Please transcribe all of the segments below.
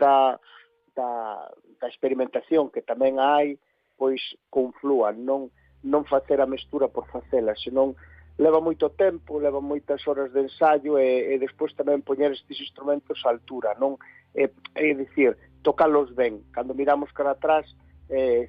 da experimentación que tamén hai, pois conflúan, non facer a mestura por facela, senón leva moito tempo, leva moitas horas de ensaio e despois tamén poñer estes instrumentos á altura, non? É dicir, tocalos ben. Cando miramos cara atrás,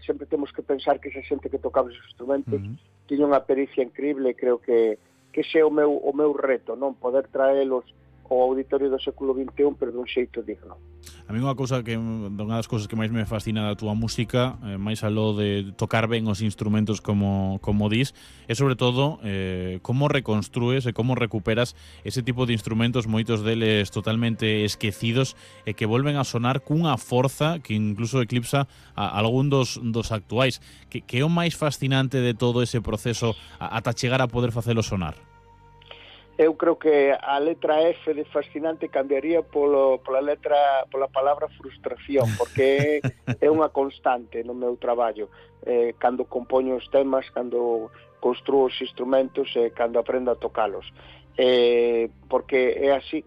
sempre temos que pensar que esa xente que tocaba esos instrumentos tiña unha pericia increíble e creo que ese é o meu reto, non? Poder traelos ao auditorio do século XXI, pero dun xeito digno. A mí unha das cousas que máis me fascina da túa música, máis aló de tocar ben os instrumentos como dis, é sobre todo como reconstrúes e como recuperas ese tipo de instrumentos, moitos deles totalmente esquecidos e que volven a sonar cunha forza que incluso eclipsa a algún dos actuais. Que é o máis fascinante de todo ese proceso ata chegar a poder facelo sonar? Eu creo que a letra F de fascinante cambiaría pola palabra frustración, porque é unha constante no meu traballo. Cando compoño os temas, cando construo os instrumentos e cando aprendo a tocalos. Porque é así,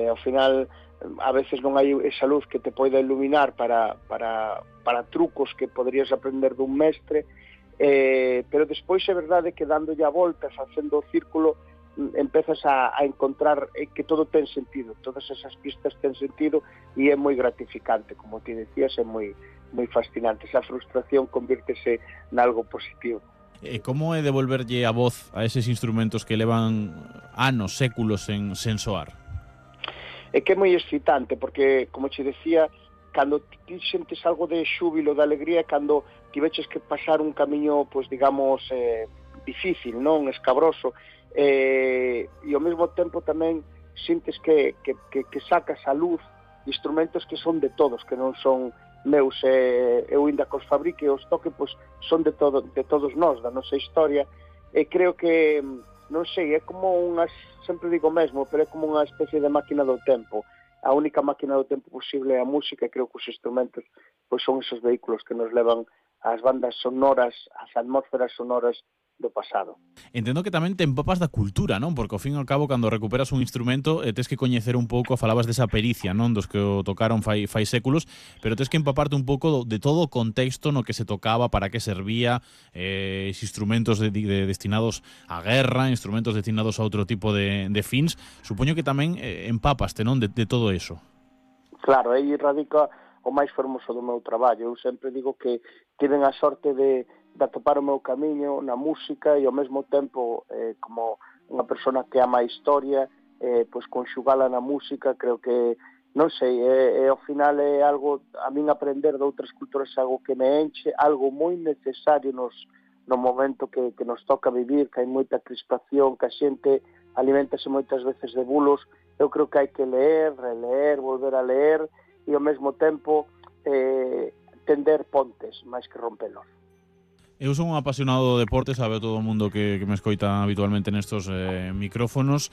ao final, a veces non hai esa luz que te poida iluminar para trucos que poderías aprender dun mestre, pero despois é verdade que dándolle a volta, facendo o círculo, empezas a encontrar que todo ten sentido, todas esas pistas ten sentido e é moi gratificante, como ti decías, é moi fascinante. Esa frustración convírtese nalgo positivo. E como é devolverlle a voz a eses instrumentos que levan anos, séculos sen soar? É que é moi excitante, porque, como che decía, cando ti sentes algo de xúbilo, de alegría, cando tiveches que pasar un camiño, pois digamos, difícil, non escabroso, e ao mesmo tempo tamén sintes que sacas a luz instrumentos que son de todos, que non son meus, eu ainda que os fabrique e os toque, pois son de todos nós, da nosa historia, e creo que, non sei, é como sempre digo mesmo, pero é como unha especie de máquina do tempo. A única máquina do tempo posible é a música, e creo que os instrumentos pois son esos vehículos que nos levan ás bandas sonoras, ás atmósferas sonoras do pasado. Entendo que tamén te empapas da cultura, non? Porque ao fin e ao cabo, cando recuperas un instrumento, tes que coñecer un pouco, falabas desa pericia, non? Dos que o tocaron fai séculos, pero tes que empaparte un pouco de todo o contexto no que se tocaba, para que servía, instrumentos destinados á guerra, instrumentos destinados a outro tipo de fins. Supoño que tamén empapaste, non? De todo eso. Claro, aí radica o máis fermoso do meu traballo. Eu sempre digo que tiven a sorte de atopar o meu camiño na música e ao mesmo tempo, como unha persona que ama a historia, pois conxugala na música, creo que, non sei, ao final é algo, a min aprender de outras culturas é algo que me enche, algo moi necesario no momento que nos toca vivir, que hai moita crispación, que a xente alimentase moitas veces de bulos. Eu creo que hai que ler, releer, volver a ler e ao mesmo tempo tender pontes, máis que rompelos. Eu son un apasionado do deporte, sabe todo o mundo que me escoita habitualmente nestos micrófonos.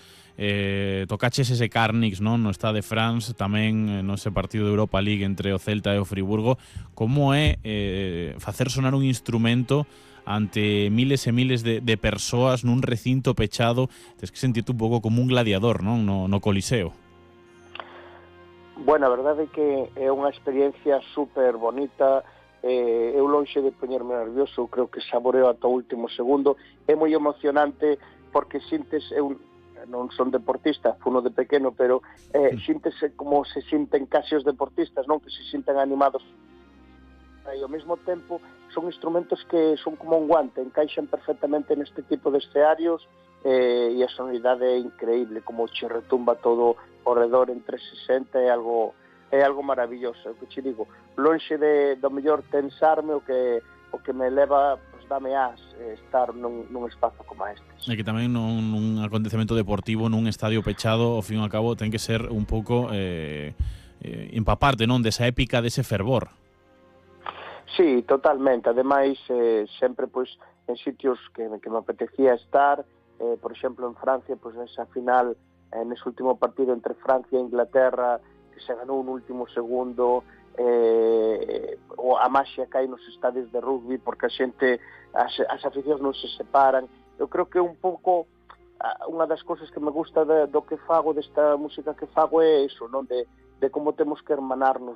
Tocaches ese Carnix, non? No Stade de France, tamén no ese partido de Europa League entre o Celta e o Friburgo. Como é facer sonar un instrumento ante miles e miles de persoas nun recinto pechado? Tens que sentirte un pouco como un gladiador, non? No Coliseo. Bueno, a verdade é que é unha experiencia super bonita. Eu lonxe de poñerme nervioso, creo que saboreo ata o último segundo. É moi emocionante porque sintes, eu non son deportista, funo de pequeno, pero síntese como se sinten case os deportistas, non? Que se sinten animados. E ao mesmo tempo son instrumentos que son como un guante, encaixan perfectamente neste tipo de escenarios, e a sonoridade é increíble, como che retumba todo ao redor en 360, é algo maravilloso. O que che digo, lonxe do mellor tensarme, o que me leva, pues, dame estar nun espazo como este. E que tamén nun acontecemento deportivo, nun estadio pechado, ao fin e ao cabo, ten que ser un pouco empaparte, non? Desa épica, dese fervor. Sí, totalmente. Ademais, sempre pois en sitios que me apetecía estar, por exemplo, en Francia, pois nesa final, nese último partido entre Francia e Inglaterra, que se ganou no último segundo, a maxia que hai nos estadios de rugby, porque a xente, as aficións non se separan. Eu creo que un pouco unha das cousas que me gusta do que fago, desta música que fago, é iso, non? De como temos que hermanarnos